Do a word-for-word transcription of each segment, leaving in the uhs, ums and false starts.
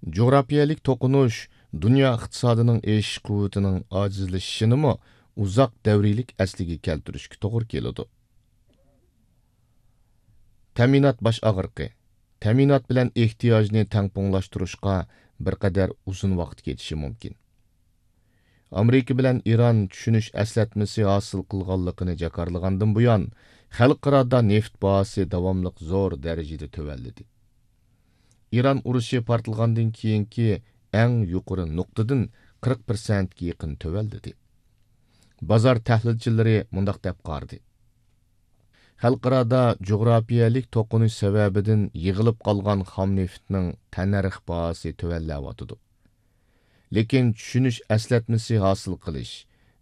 جۇغراپىيەلىك توقۇنۇش دۇنيا ئىقتىسادىنىڭ ئېشىش قۇۋۋىتىنىڭ ئاجىزلىشىشىنىمۇ ئۇزاق دەۋرىيلىك ئەسلىگە كەلتۈرۈشكە توغرا كېلىدۇ. تەمىنات باش ئاغرىقى. تەمىنات بىلەن ئېھتىياجنى تەڭپۇڭلاشتۇرۇشقا بىر قەدەر ئۇزۇن ۋاقىت كېتىشى مۇمكىن. ئامېرىكا بىلەن ئىران چۈشىنىش ئەسلەتمىسى ھاسىل قىلغانلىقىنى جاكارلىغاندىن بۇيان، خەلقئارادا نېفىت باھاسى داۋاملىق زور دەرىجىدە تۆۋەنلىدى. ئىران ئۇرۇشى پارتلىغاندىن كېيىنكى ئەڭ يۇقىرى نۇقتىدىن قىرىق پىرسەنتكە يېقىن تۆۋەنلىدى. بازار تەھلىلچىلىرى مۇنداق دەپ قارىدى: خەلقئارادا جۇغراپىيەلىك توقۇنۇش سەۋەبىدىن يىغىلىپ قالغان خام نېفىتنىڭ تەننەرخ باھاسى تۆۋەنلەۋاتىدۇ. لېكىن چۈشىنىش ئەسلەتمىسى ھاسىل قىلىش،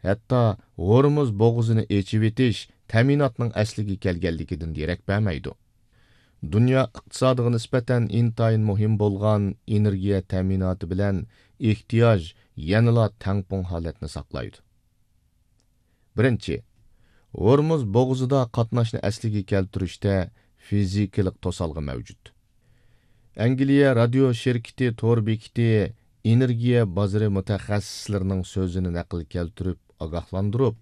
ھەتتا ھورمۇز بوغۇزىنى ئېچىۋېتىش تەمىناتنىڭ ئەسلىگە كەلگەنلىكىدىن دېرەك بەرمەيدۇ. دۇنيا ئىقتىسادىغا نىسبەتەن ئىنتايىن مۇھىم بولغان ئېنېرگىيە تەمىناتى بىلەن ئېھتىياج يەنىلا تەڭپۇڭ ھالەتنى ساقلايدۇ. بىرىنچى، ھورمۇز بوغۇزىدا قاتناشنى ئەسلىگە كەلتۈرۈشتە فىزىكىلىق توسالغۇ مەۋجۇت. ئەنگلىيە رادىيو شىركىتى تور بېكىتى ئېنېرگىيە بازىرى مۇتەخەسسىسلىرىنىڭ سۆزىنى نەقىل كەلتۈرۈپ ئاگاھلاندۇرۇپ،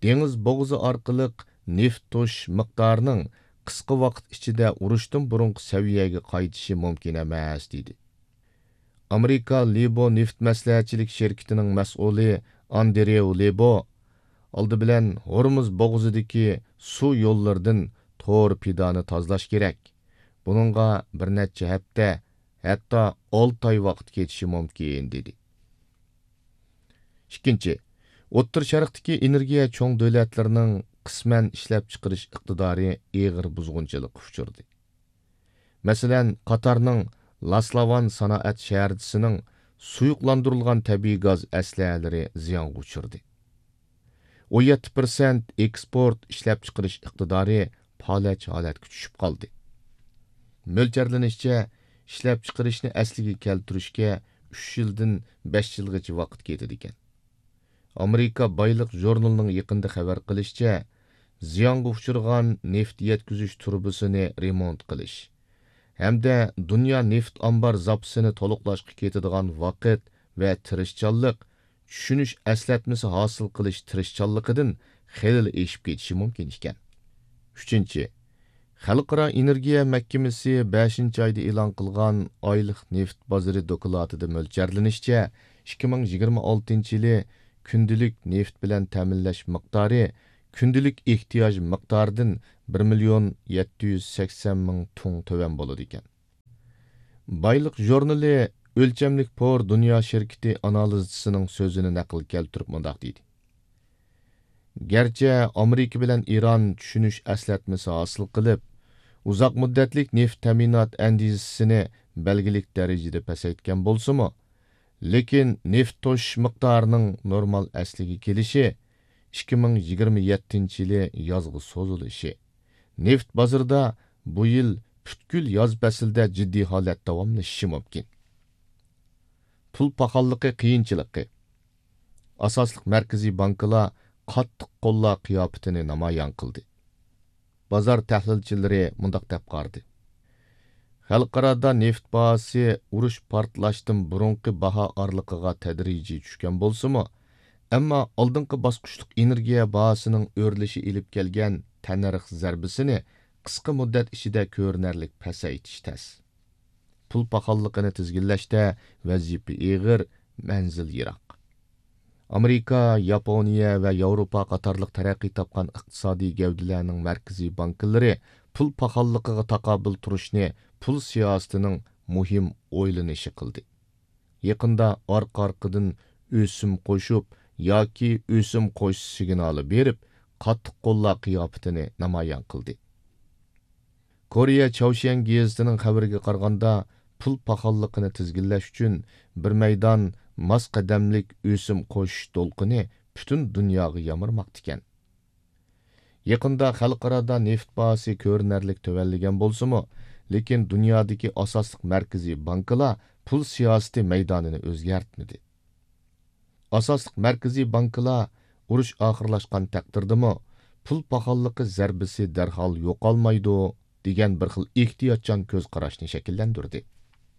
دېڭىز بوغۇزى ئارقىلىق نېفىت توشۇش مىقدارىنىڭ قىسقا ۋاقىت ئىچىدە ئۇرۇشتىن بۇرۇنقى سەۋىيەگە قايتىشى مۇمكىن ئەمەس، دېدى. ئامېرىكا لىبو نېفىت مەسلىھەتچىلىك شىركىتىنىڭ مەسئۇلى ئاندرېۋ لىبو، ئالدى بىلەن ھورمۇز بوغۇزىدىكى سۇ يوللىرىدىن تور پىدانى تازىلاش كېرەك. بۇنىڭغا بىر نەچچە ھەپتە، ھەتتا ئالتە ئاي ۋاقىت كېتىشى مۇمكىن، دېدى. ئىككىنچى، ئوتتۇرا شەرقتىكى ئېنېرگىيە چوڭ دۆلەتلىرىنىڭ قىسمەن ئىشلەپچىقىرىش ئىقتىدارى ئېغىر بۇزغۇنچىلىققا ئۇچرىدى. مەسىلەن، قاتارنىڭ لاسلاۋان سانائەت شەھەرچىسىنىڭ سۇيۇقلاندۇرۇلغان تەبىئىي گاز ئەسلىھەلىرى زىيانغا ئۇچرىدى. ئون يەتتە پىرسەنت ئېكسپورت ئىشلەپچىقىرىش ئىقتىدارى پالەچ ھالەتكە چۈشۈپ قالدى. مۆلچەرلىنىشىچە، ئىشلەپچىقىرىشنى ئەسلىگە كەلتۈرۈشكە ئۈچ يىلدىن بەش يىلغىچە ۋاقىت كېتىدىكەن. ئامېرىكا بايلىق ژۇرنىلىنىڭ يېقىندا خەۋەر قىلىشىچە، زىيانغا ئۇچرىغان نېفىت يەتكۈزۈش تۇرۇبىسىنى رېمونت قىلىش ھەمدە دۇنيا نېفىت ئامبار زاپىسىنى تولۇقلاشقا كېتىدىغان ۋاقىت ۋە تىرىشچانلىق، چۈشىنىش ئەسلەتمىسى ھاسىل قىلىش تىرىشچانلىقىدىن خېلىلا ئېشىپ كېتىشى مۇمكىن ئىكەن. ئۈچىنچى، خەلقئارا ئېنېرگىيە مەھكىمىسى بەشىنچى ئايدا ئېلان قىلغان ئايلىق نېفىت بازىرى دوكلاتىدا مۆلچەرلىنىشىچە، ئىككى مىڭ يىگىرمە ئالتىنچى يىلى كۈندىلىك نېفىت بىلەن تەمىنلەش مىقدارى كۈندىلىك ئېھتىياج مىقدارىدىن بىر مىليون يەتتە يۈز سەكسەن مىڭ تۇڭ تۆۋەن بولىدىكەن. بايلىق ژۇرنىلى ئۆلچەملىك پور دۇنيا شىركىتى ئانالىزچىسىنىڭ سۆزىنى نەقىل كەلتۈرۈپ مۇنداق دېدى: گەرچە ئامېرىكا بىلەن ئىران چۈشىنىش ئەسلەتمىسى ھاسىل قىلىپ، ئۇزاق مۇددەتلىك نېفىت تەمىنات ئەندىزىسىنى بەلگىلىك دەرىجىدە پەسەيتكەن بولسىمۇ، لېكىن نېفىت توشۇش مىقدارىنىڭ نورمال ئەسلىگە كېلىشى ئىككى مىڭ يىگىرمە يەتتىنچى يىلى يازغا سوزۇلۇشى، نېفىت بازىرىدا بۇ يىل پۈتكۈل ياز پەسلىدە جىددىي ھالەت داۋاملىشىشى مۇمكىن. پۇل پاخاللىقى قىيىنچىلىقى. ئاساسلىق مەركىزىي بانكىلار قاتتىق قوللار قىياپىتىنى نامايان قىلدى. بازار تەھلىلچىلىرى مۇنداق دەپ قارىدى: خەلقئارادا نېفىت باھاسى ئۇرۇش پارتلاشتىن بۇرۇنقى باھا ئارىلىقىغا تەدرىجىي چۈشكەن بولسىمۇ، ئەمما ئالدىنقى باسقۇچلۇق ئېنېرگىيە باھاسىنىڭ ئۆرلىشى ئېلىپ كەلگەن تەننەرخ زەربىسىنى قىسقا مۇددەت ئىچىدە كۆرۈنەرلىك پەسەيتىش تەس. پۇل پاخاللىقىنى تىزگىنلەشتە ۋەزىپە ئېغىر، مەنزىل يىراق. ئامېرىكا، ياپونىيە ۋە ياۋروپا قاتارلىق تەرەققىي تاپقان ئىقتىسادىي گەۋدىلەرنىڭ مەركىزىي بانكىلىرى پۇل پاخاللىقىغا تاقابىل تۇرۇشنى پۇل سىياسىتىنىڭ مۇھىم ئويلىنىشى قىلدى. يېقىندا ئارقا-ئارقىدىن ئۆسۈم قوشۇپ ياكى ئۆسۈم قوشۇش سىگنالى بېرىپ، قاتتىق قوللار قىياپىتىنى نامايان قىلدى. كورېيە چاۋشيەن گېزىتىنىڭ خەۋىرىگە قارىغاندا، پۇل پاخاللىقىنى تىزگىنلەش ئۈچۈن بىر مەيدان ماس قەدەملىك ئۆسۈم قوشۇش دولقۇنى پۈتۈن دۇنياغا يامرىماقتىكەن. يېقىندا خەلقئارادا نېفىت باھاسى كۆرۈنەرلىك تۆۋەنلىگەن بولسىمۇ، لېكىن دۇنيادىكى ئاساسلىق مەركىزىي بانكىلار پۇل سىياسىتى مەيدانىنى ئۆزگەرتمىدى. ئاساسلىق مەركىزىي بانكىلار ئۇرۇش ئاخىرلاشقان تەقدىردىمۇ پۇل پاخاللىقى زەربىسى دەرھال يوقالمايدۇ دېگەن بىر خىل ئېھتىياتچان كۆز قاراشنى شەكىللەندۈردى.